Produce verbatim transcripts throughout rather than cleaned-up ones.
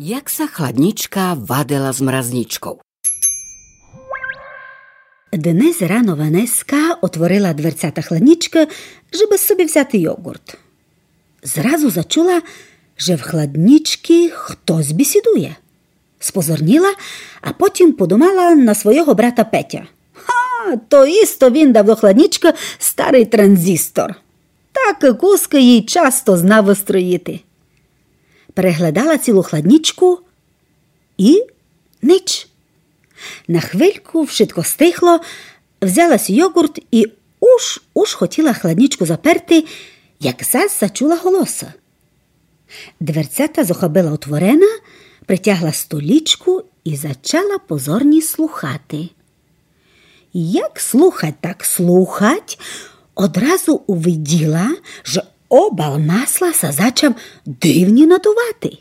Як ся Хладнічка вадила з Мразнічков. Днес рано Ванеска отворила дверцята хладнічкы, жебы собі взяти йогурт. Зразу зачула, же в хладнічкы хтось бісідує. Спозорніла, а потім подумала на свойого брата Петя. Ха, то істо він дав до хладнічкы старый транзистор. Так кускы їй часто знав выстроїти. Переглядала цілу хладнічку і нич. На хвильку вшытко стихло, взяла си йогурт і уж, уж хотіла хладнічку заперти, як зас зачула голосы. Дверцята зохабила отворена, притягла столічку і зачала позорні слухати. Як слухать, так слухать, одразу увиділа, же обал масла ся зачав дивні надувати.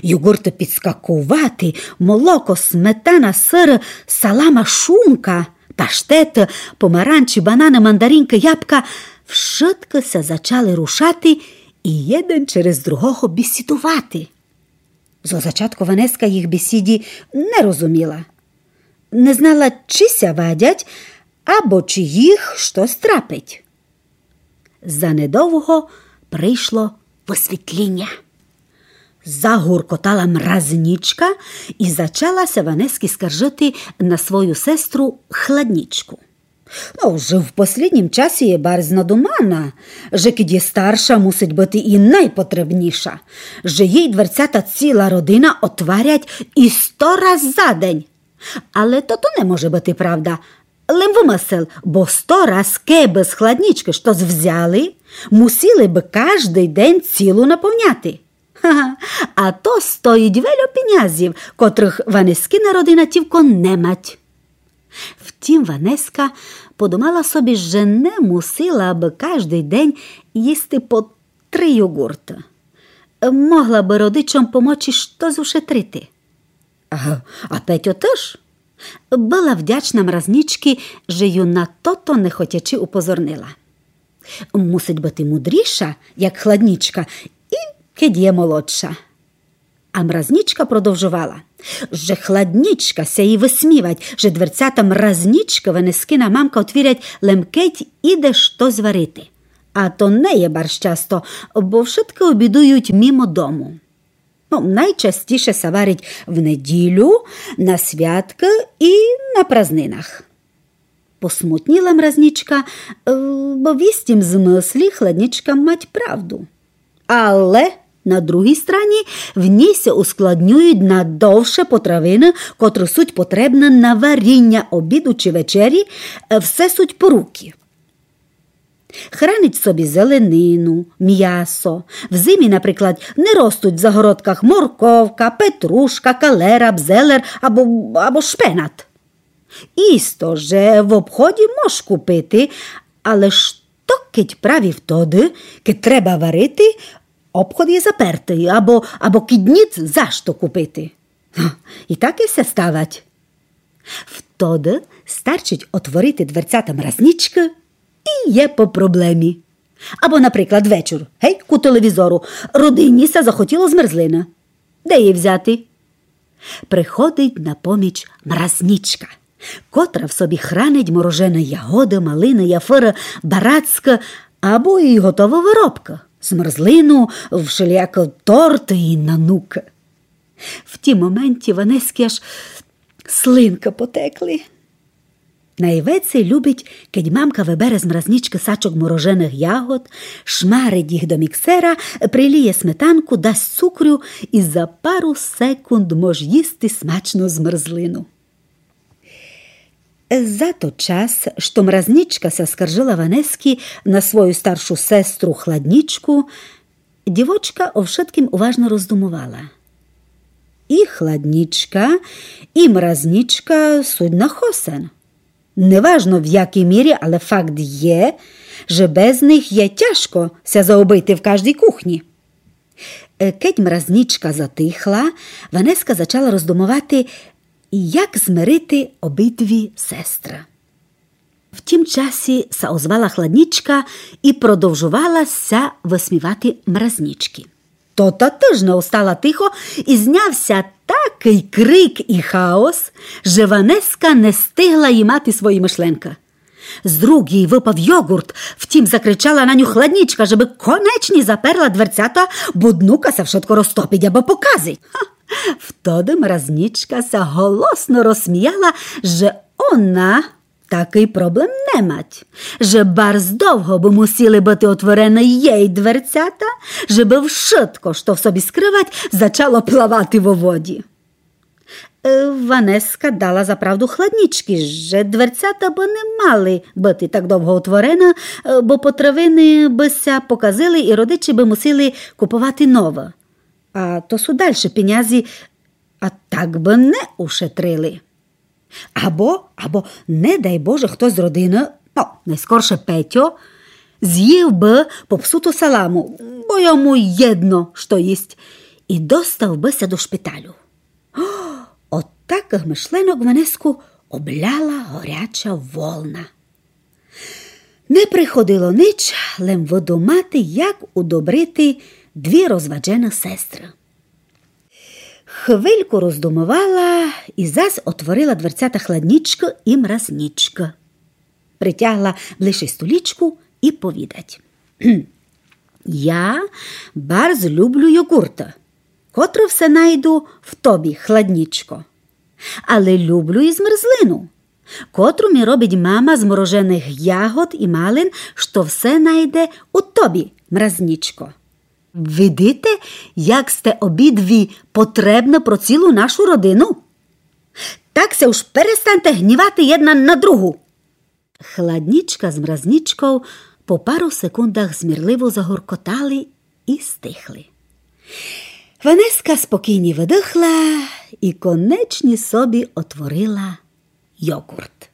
Йогурты підскакувати, молоко, сметана, сыр, салама, шунка, паштет, помаранчі, бананы, мандаринкы, ябка, вшыткы ся зачали рушати і єден через другого бісідувати. Зо зачатку Ванеска їх бісіді не розуміла. Не знала, чи ся вадять, або чи їх штось трапить. Занедовго прийшло высвітліня. Загуркотала Мразнічка і зачала ся Ванески скаржыти на свою сестру Хладнічку. Но, же в послїднім часі є барз надумана, же кидь є старша, мусить быти і найпотребніша, же їй дверцята ціла родина отварять і сто раз за день. Але то, то не може быти правда. Лем вымысел, бо сто раз кебы з Хладнічкы штось взяли, мусили бы каждый день цілу наповняти. Ха-ха, а то стоїть вельо пінязів, котрых Ванескина родина тівко не мать. Втім, Ванеска подумала собі, же не мусила бы каждый день їсти по три йогурты. Могла бы родичом помочи штось ушетрити. А, а Петьо тыж. Была вдячна Мразнічки, же ю на тото не хотячи упозорнила. Мусить быти мудріша, як Хладнічка, і кедь є молодша. А Мразнічка продовжовала, же Хладнічка ся їй высмівать, же дверцята Мразнічкы Ванескина мамка отвірять лем кедь іде штось варити. А то не є барз часто, бо вшыткы обідують мимо дому. Но, найчастіше ся варить в неділю, на святкы і на празнинах. Посмутніла Мразнічка, е, бо в істім змыслі Хладнічка мать правду. Але на другій страні в ній ся ускладнюють на довше потравины, котры суть потребны на варіня обіду чи вечері, е, все суть по руки. Хранить собі зеленину, мясо. В зимі, наприклад, не ростуть в загородках морковка, петрушка, калера, бзелер або, або шпенат. Істо, же в обході мож купити, але што кедь праві втоды, кедь треба варити, обход є запертый, або, або кедь ніц за што купити. Га, і таке ся ставать. Втоды старчить отворити дверцята Мразнічкы і є по проблемі. Або, наприклад, вечур, гей, ку телевізору, родині ся захотіло змерзлины. Де її взяти? Приходить на поміч Мразнічка, котра в собі хранить морожены ягоды, малины, яфыры, барацкы або і готовы выробкы, змерзлину, вшеліякы торты і нанукы. В тім моменті Ванески аж слинкы потекли. Найвеце любить, кедь мамка выбере з Мразнічкы сачок мороженых ягод, шмарить їх до міксера, приліє сметанку, дасть цукру і за пару секунд мож їсти смачну змерзлину. За тот час, што Мразнічка ся скаржыла Ванески на свою старшу сестру Хладнічку, дівочка о вшыткім уважно роздумовала. І Хладнічка, і Мразнічка суть на хосен. Неважно в якій мірі, але факт є, же без них є тяжко ся заобыти в каждій кухні. Е, кедь Мразнічка затихла, Ванеска зачала роздумовати, як змирити обидві сестры. В тім часі ся озвала Хладнічка і продовжовала ся высмівати Мразнічки. Тота тыж не остала тихо, и зняв ся такый крик и хаос, же Ванеска не стигла имати свої мышленкы. З рук їй выпав йогурт, втім закричала на ню хладнічка, жебы конечні заперла дверцята, бо днука ся вшытко розтопить або показить. Ха! Втоды мразнічка ся голосно розсміяла, же она такый проблем не мать, же барз довго бы мусіли быти отворены єй дверцята, жебы вшытко, што в собі скрывать, зачало плавати во воді. Е, Ванеска дала за правду хладнічки, же дверцята бы не мали быти так довго отворены, е, бо потравины бы ся показили и родичі бы мусили куповати новы. А то су дальші пенязі, а так бы не ушетрили. Або, або, не дай Боже, хто з родины, но, найскорше Петьо, зїв бы попсуту саламу, бо йому єдно, што їсть, и достав бы ся до шпиталю. Од такых мышленок Ванеску обляла горяча волна. Не приходило нич, лем выдумати, як удобрити дві розваджены сестры. Хвильку роздумовала и зас отворила дверцята хладнічкы и мразнічкы. Притягла ближче столічку и повідать: «Я барз люблю йогурты, котры все найду в тобі, хладнічко. Але люблю и змерзлину, котру мі робить мама з мороженых ягод и малин, што все найде у тобі, мразнічко. Видите, як сте обидві потребны про цілу нашу родину? Так ся уж перестаньте гнівати єдна на другу». Хладнічка з мразнічков по пару секундах змірливо загоркотали и стихли. Ванеска спокійні выдыхла и конечні собі отворила йогурт.